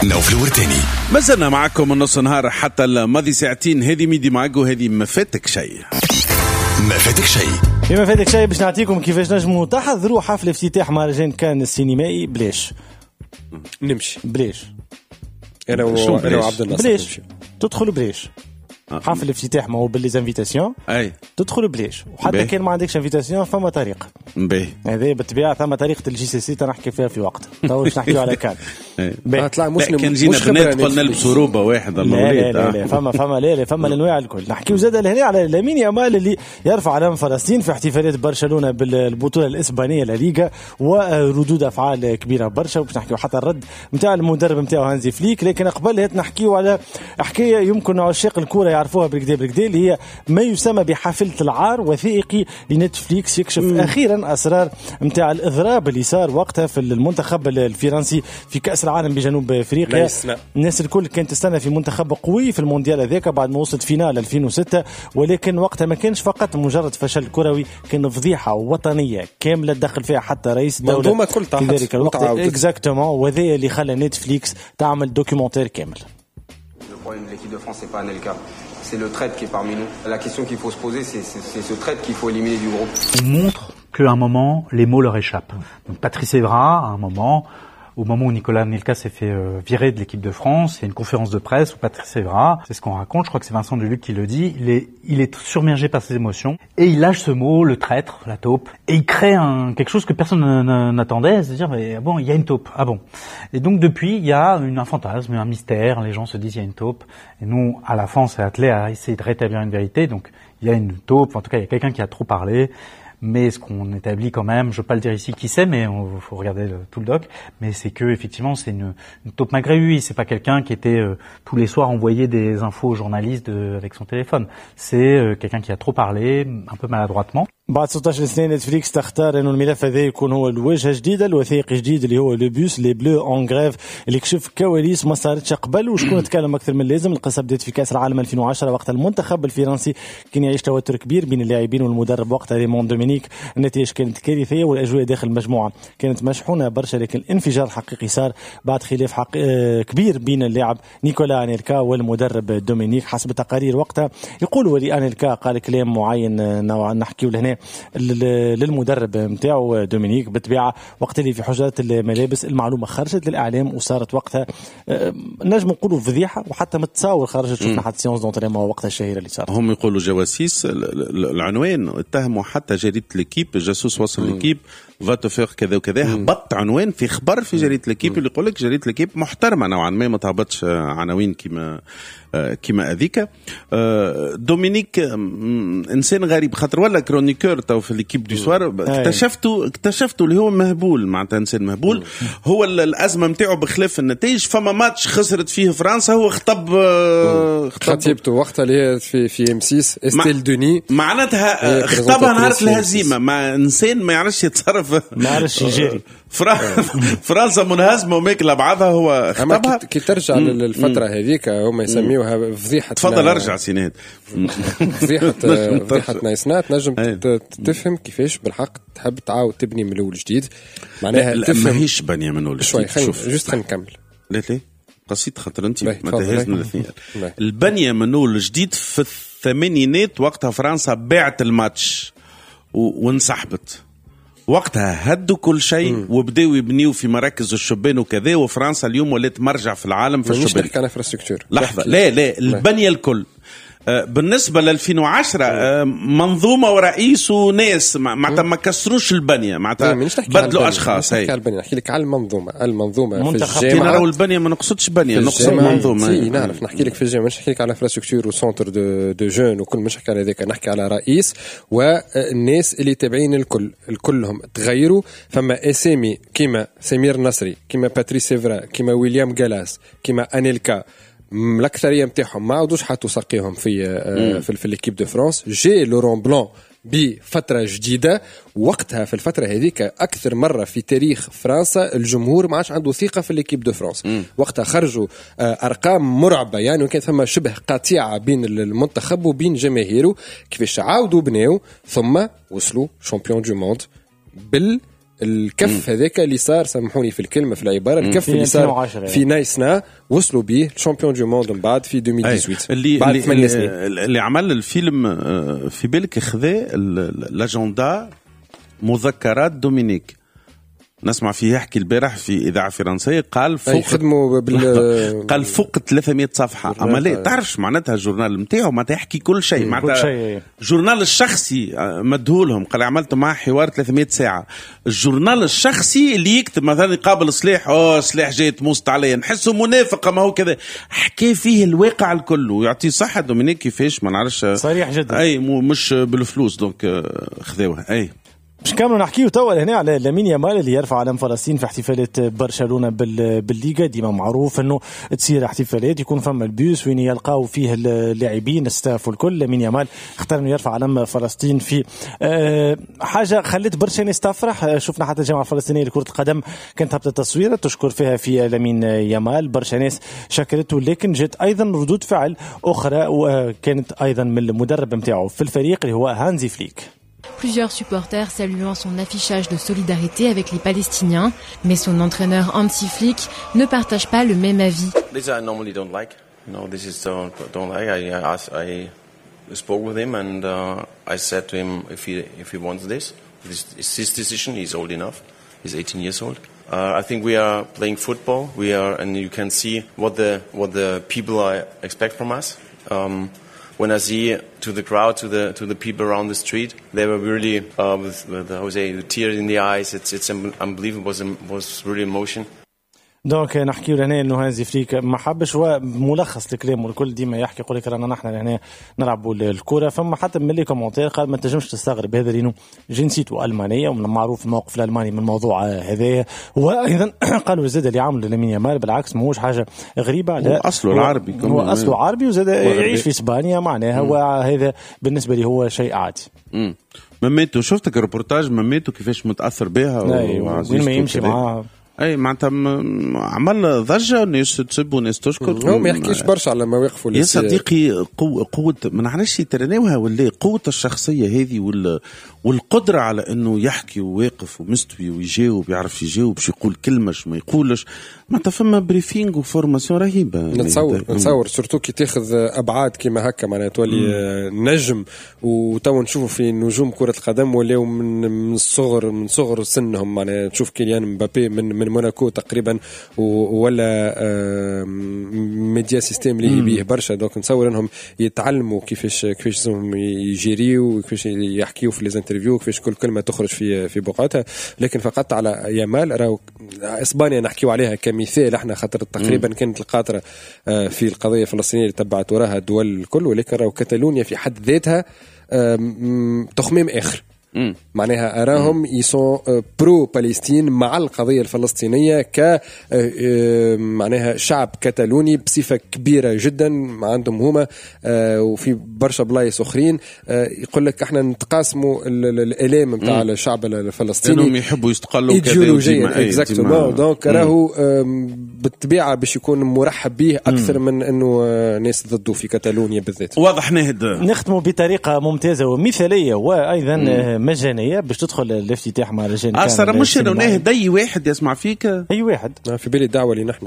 نوفل الورتاني. ما زلنا معكم من نص نهار حتى الماضي ساعتين. هذه Midi Mag وهذه ما فاتك شيء. ما فاتك شيء. ما فاتك شيء باش نعطيكم كيفاش نجموا تحضروا حفل افتتاح مهرجان كان السينمائي بلاش. نمشي بلاش. انا وعبد الناصر بلاش. تدخلوا بلاش. حفل الافتتاح ما هو ب les invitations. اي تدخل بلاش، وحتى كان ما عندكش invitation فما طريقه. باهي هذا بالطبيعة ثم طريقه ال JCC تنحكي فيها في وقت تو باش نحكيو على كان. طلع مش كان جينا بنات قلنا نلبسوا روبه واحد. الله لا لا لا فما لا لا فما الانواع الكل. نحكيو زاد لهنا على لامين يامال اللي يرفع علم فلسطين في احتفالات برشلونة بالبطولة الاسبانية لا ليغا، وردود افعال كبيرة برشا، وباش نحكيو حتى الرد نتاع المدرب نتاعو هانزي فليك. لكن قبل هات نحكيو على حكاية يمكن عشاق الكورة يعرفوها بالكدا بالكدا، اللي هي ما يسمى بحافلة العار، وثائقي لنتفليكس يكشف أخيرا أسرار متاع الإضراب اللي صار وقتها في المنتخب الفرنسي في كأس العالم بجنوب أفريقيا. الناس الكل كانت تستنى في منتخب قوي في المونديال هذاك بعد ما وصلت finale 2006، ولكن وقتها ما كانش فقط مجرد فشل كروي، كان فضيحة وطنية كاملة دخل فيها حتى رئيس الدولة في ذلك الوقت. exactement، وهذا اللي خلى نتفليكس تعمل documentaire كامل. Le problème de l'équipe de France, c'est pas Anelka, c'est le traître qui est parmi nous. La question qu'il faut se poser, c'est ce traître qu'il faut éliminer du groupe. On montre qu'à un moment, les mots leur échappent. Donc Patrice Evra, à un moment, au moment où Nicolas Anelka s'est fait virer de l'équipe de France, il y a une conférence de presse où Patrice Evra, c'est ce qu'on raconte, je crois que c'est Vincent Duluc qui le dit, il est submergé par ses émotions et il lâche ce mot, le traître, la taupe, et il crée quelque chose que personne n'attendait, c'est-à-dire mais bon, il y a une taupe, ah bon. Et donc depuis, il y a un fantasme, un mystère, les gens se disent il y a une taupe, et nous, à la fin, on s'est attelé à essayer de rétablir une vérité, donc il y a une taupe, en tout cas il y a quelqu'un qui a trop parlé. Mais ce qu'on établit quand même, je veux pas le dire ici qui c'est, mais il faut regarder tout le doc, mais c'est que effectivement c'est une taupe malgré lui, c'est pas quelqu'un qui était tous les soirs envoyé des infos aux journalistes avec son téléphone. C'est quelqu'un qui a trop parlé, un peu maladroitement. بعد 16 سنة نتفليكس تختار انه الملف هذا يكون هو الوجهة الجديدة، الوثائقي الجديد اللي هو Le Bus les Bleus en grève، اللي كشف كواليس ما صارتش قبل وشكون تكلم اكثر من اللازم. القصة بدات في كاس العالم 2010 وقت المنتخب الفرنسي كان يعيش توتر كبير بين اللاعبين والمدرب وقتها ريمون دومينيك. النتائج كانت كارثية والاجواء داخل المجموعة كانت مشحونه برشا، لكن الانفجار الحقيقي صار بعد خلاف كبير بين اللاعب نيكولا انيلكا والمدرب دومينيك. حسب التقارير وقتها يقولوا لي انيلكا قال كلام معين نوعا نحكيو لهنا للمدرب نتاعو دومينيك. بالطبيعة وقت اللي في حجره الملابس المعلومة خرجت للاعلام وصارت وقتها نجم نقولوا فضيحة، وحتى متصاور خرجت، شفنا حتى séance d'entraînement وقتها الشهيرة اللي صارت. هم يقولوا جواسيس، العنوان اتهموا حتى جريدة L'Équipe، جاسوس وصل L'Équipe va te faire كذا وكذا، هبط عنوان في خبر في جريدة L'Équipe اللي يقول لك جريدة L'Équipe محترمه نوعا ما، ما تهبطش عناوين كيما هذيك. دومينيك انسان غريب خاطر ولا chroniqueur تو في L'Équipe du Soir، اكتشفتوا اللي هو مهبول، معناتها انسان مهبول. هو الازمة نتاعو بخلاف النتائج، فما ماتش خسرت فيه فرنسا هو خطب خطيبته وقتها اللي هي في M6 استيل دوني، معناتها خطبها نهار الهزيمة. مع انسان ما يعرفش يتصرف، ما يعرفش يجري. فرنسا منهزمه وماكله بعضها، هو خطبها. كي ترجع للفترة هذيك هما يسميوها فضيحة. تفضل ارجع سيناد. فضيحة نايسنات نجم تفهم كيفاش بالحق تحب تعاود تبني من الاول جديد، معناها تفهم ماهيش بنيه من الاول شوي. شوف juste خلينا نكمل. لا لا قصيت خاطر انت ما تهزنا الاثنين. البنية من الاول جديد في الثمانينات وقتها فرنسا باعت الماتش وانسحبت وقتها، هدوا كل شيء وبداوا يبنيوا في مراكز الشبان وكذا، وفرنسا اليوم ولات مرجع في العالم في الشبان. مش على infrastructure. لحظة، لا لا البنية الكل. بالنسبة ل 2010 منظومة ورئيس وناس معناتها ما كسروش البنية، معناتها بدلوا اشخاص. هي نحكي لك على المنظومة في الجامعة. راهو البنية ما نقصدش بنيه، نقصد منظومة. نعرف نحكي لك في الجامعة، مش نحكي لك على infrastructure و centre de jeunes وكل، مش نحكي على ذاك، نحكي على رئيس والناس اللي تابعين الكل، الكلهم تغيروا. فما اسامي كيما سمير نصري، كيما باتريس إيفرا، كيما ويليام جالاس، كيما انيلكا، الاكثرية نتاعهم ما عاودوش حطوا ساقيهم في l'équipe de France. جي لورون بلون بفترة جديدة وقتها، في الفترة هذيك اكثر مرة في تاريخ فرنسا الجمهور ما عادش عنده ثقة في l'équipe de France. وقتها خرجوا ارقام مرعبة، يعني وكانت ثم شبه قطيعة بين المنتخب وبين جماهيره. كيفاش عاودوا بناو ثم وصلوا champions du monde بال الكف هذاك اللي صار، سامحوني في الكلمة في العباره، الكف اللي صار في نايسنا وصلوا به champion du monde من بعد في 2018 اللي بعد 8 سنين. اللي عمل الفيلم في بالك خذا l'agenda مذكرات دومينيك، نسمع فيه يحكي البارح في إذاعة فرنسية، قال فوق قال فوق 300 صفحة. أما لا تعرفش معناتها ال journal نتاعو معناتها يحكي كل شيء، معناتها journal الشخصي مدهولهم، قال عملت معاه حوار 300 ساعة. ال journal الشخصي اللي يكتب مثلا يقابل سلاح، سلاح جاي تموست عليا، نحسه منافق، ما هو كذا، حكى فيه الواقع الكل ويعطيه صحة دومينيك كيفاش ما نعرفش، صريح جدا، أي مش بالفلوس donc خذوها. أي باش كاملوا نحكيو توا هنا على لامين يامال اللي يرفع علم فلسطين في احتفالات برشلونة بالليغا. ديما معروف انه تصير احتفالات يكون فما البيوس وين يلقاو فيه اللاعبين ال staff والكل. لامين يامال اختار انه يرفع علم فلسطين في حاجة خلت برشا ناس تفرح. شفنا حتى الجامعة الفلسطينية لكرة القدم كانت هبطت تصويره تشكر فيها في لامين يامال، برشا ناس شكرته، لكن جت ايضا ردود فعل اخرى وكانت ايضا من المدرب نتاعو في الفريق اللي هو هانزي فليك. Plusieurs supporters saluant son affichage de solidarité avec les Palestiniens, mais son entraîneur Hansi Flick ne partage pas le même avis. This I normally don't like. No, this is don't like. I spoke with him and I said to him if he wants this, this is his decision. He's old enough. He's 18 years old. I think we are playing football. We are, and you can see what the people expect from us. When I see to the crowd, to the people around the street, they were really with Jose, the tears in the eyes. It's unbelievable. Was really emotion. donc نحكيو لهنا انه هانزي فليك ما حبش، وملخص الكلام والكل ديما يحكي يقول لك رانا نحن لهنا نلعبوا الكره. فما حتى من les commentaires قال ما تنجمش تستغرب هذا لانه جنسيته المانية ومن المعروف الموقف الالماني من الموضوع هذايا. وايضا قالوا زاد اللي عملوا لامين يامال بالعكس ماهوش حاجة غريبة، هو اصله العربي، هو اصله عربي وزاد يعيش في اسبانيا معناها، وهذا بالنسبة لي هو شيء عادي. مميتو شفتك الريبورتاج مميتو كيفاش متاثر بها وين ما يمشي معاه، اي معناتها عمل ضجه، ناس تسب وناس تشكر. هو ما يحكيش برشا على مواقفه يا صديقي. قوة ما نعرفش ترناوها ولا قوة الشخصية هذه والقدرة على انه يحكي وواقف ومستوي ويجاوب، يعرف يجاوب باش يقول كلمة ما يقولش، معناتها فما briefing و formation رهيبة. نتصور surtout كي تاخذ ابعاد كيما هكا معناها تولي نجم. وتو نشوفوا في نجوم كره القدم ولاو من الصغر، من صغر سنهم معناها تشوف كيليان مبابي من موناكو تقريبا ولا media system اللي بيه برشا. donc نتصور انهم يتعلموا كيفاش لازمهم يجيريو وكيفاش يحكيو في les interviews، كيفاش كل كلمة تخرج في بقعتها. لكن فقط على يامال راهو اسبانيا نحكيو عليها كمثال احنا، خاطر تقريبا كانت القاطره في القضية الفلسطينية اللي تبعت وراها الدول الكل، ولكن راهو كاتالونيا في حد ذاتها تخميم اخر. معناها أراهم ils sont pro-Palestine مع القضية الفلسطينية ك معناها شعب كتالوني بصفة كبيرة جدا عندهم هما، وفي برشا بلايص أخرين يقول لك احنا نتقاسموا الآلام نتاع الشعب الفلسطيني، انهم يحبوا يستقلوا ايديولوجيا exactement. donc راهو بالطبيعة باش يكون مرحب به أكثر من أنه ناس ضده في كتالونيا بالذات. واضح نهد نختموا بطريقة ممتازة ومثالية وأيضا مجانية باش تدخل الافتتاح مع رجال كان. مش انه نهد اي واحد يسمع فيك، اي واحد في بالي الدعوة اللي نحن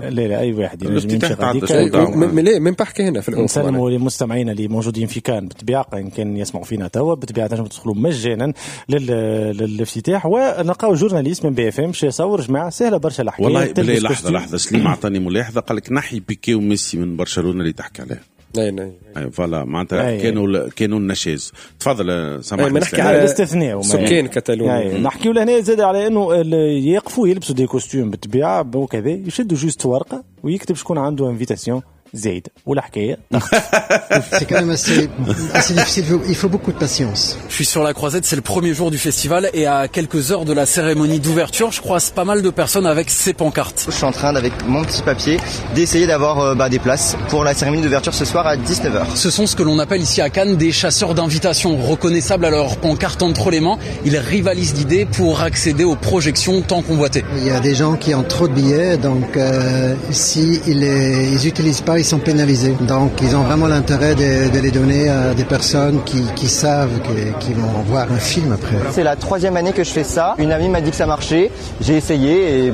لا لا اي واحد الافتتاح لا من بحكي هنا في الأوف. نسلموا للمستمعين اللي موجودين في كان بالطبيعة ان كان يسمعوا فينا توا بالطبيعة تنجموا تدخلوا مجانا للافتتاح، ونلقاو journaliste من BFM شي يصور جماعة سهلة برشا الحكاية. والله بالله لحظة سليم اعطاني ملاحظة قال لك نحي بيكي وميسي من برشلونة اللي تحكي عليه. اي voilà معناتها كانوا النشاز. تفضل سامحني نحكي على الاستثناء سكان كتالونيا. نحكيو لهنا زاد على انه يقفوا يلبسوا des costumes بالطبيعة وكذا، يشدوا juste ورقة ويكتب شكون عنده invitation زايد والحكاية. C'est quand même assez difficile, il faut beaucoup de patience. Je suis sur la Croisette, c'est le premier jour du festival et à quelques heures de la cérémonie d'ouverture, je croise pas mal de personnes avec ces pancartes. Je suis en train avec mon petit papier d'essayer d'avoir des places pour la cérémonie d'ouverture ce soir à 19h. Ce sont ce que l'on appelle ici à Cannes des chasseurs d'invitations, reconnaissables à leurs pancartes entre les mains. Ils rivalisent d'idées pour accéder aux projections tant convoitées. Il y a des gens qui ont trop de billets, donc si ils utilisent pas, pas, ils sont pénalisés. Donc ils ont vraiment l'intérêt de les donner à des personnes qui savent qu'ils vont voir un film après. C'est la 3e année que je fais ça. Une amie m'a dit que ça marchait. J'ai essayé et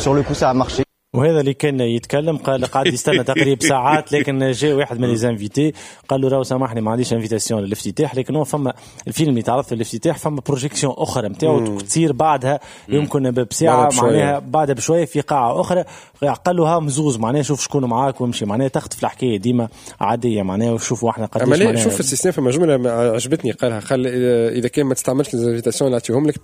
sur le coup ça a marché. وهذا اللي كان يتكلم قال قاعد يستنى تقريبا ساعات، لكن جاء واحد من les invités قال له راهو سامحني ما عنديش invitation للافتتاح، لكن هو فما الفيلم اللي تعرض في الافتتاح فما projection اخرى نتاعو تصير بعدها يمكن بساعة معناها بعدها بشوية في قاعة اخرى، قال له ها مزوز معناها شوف شكون معاك وامشي، معناها تخطف الحكاية ديما عادية معناها. وشوفوا احنا قداش معناها شوف ال système فما جملة عجبتني قالها، قال اذا كان ما تستعملش les invitations اللي نعطيهم لك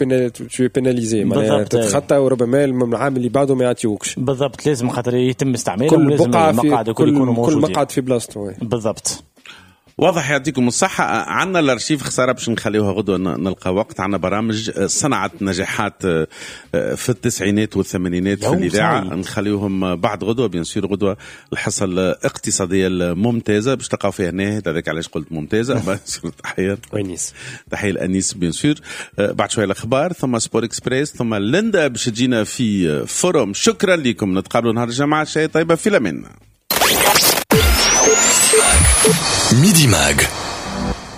tu es pénalisé، معناها تتخطى وربما العام اللي بعده ما يعطيوكش. بالضبط، لازم خاطر يتم استعمالهم، لازم المقعد يكونوا موجودين، كل مقعد في بلاصته. بالضبط، واضح. يعطيكم الصحة. عندنا الارشيف خسارة باش نخليوها غدوة نلقى وقت. عندنا برامج صنعت نجاحات في التسعينات والثمانينات في الإذاعة، نخليوهم بعد غدوة bien sûr. غدوة الحصة الاقتصادية الممتازة باش تلقاو فيها ناهد، هذاك علاش قلت ممتازة. تحية أنيس، تحية لأنيس bien sûr. بعد شوية الأخبار، ثم Sport Express، ثم ليندا باش تجينا في forum. شكرا لكم، نتقابلوا نهار الجمعة. شيء طيبة في الأمان. Midi Mag.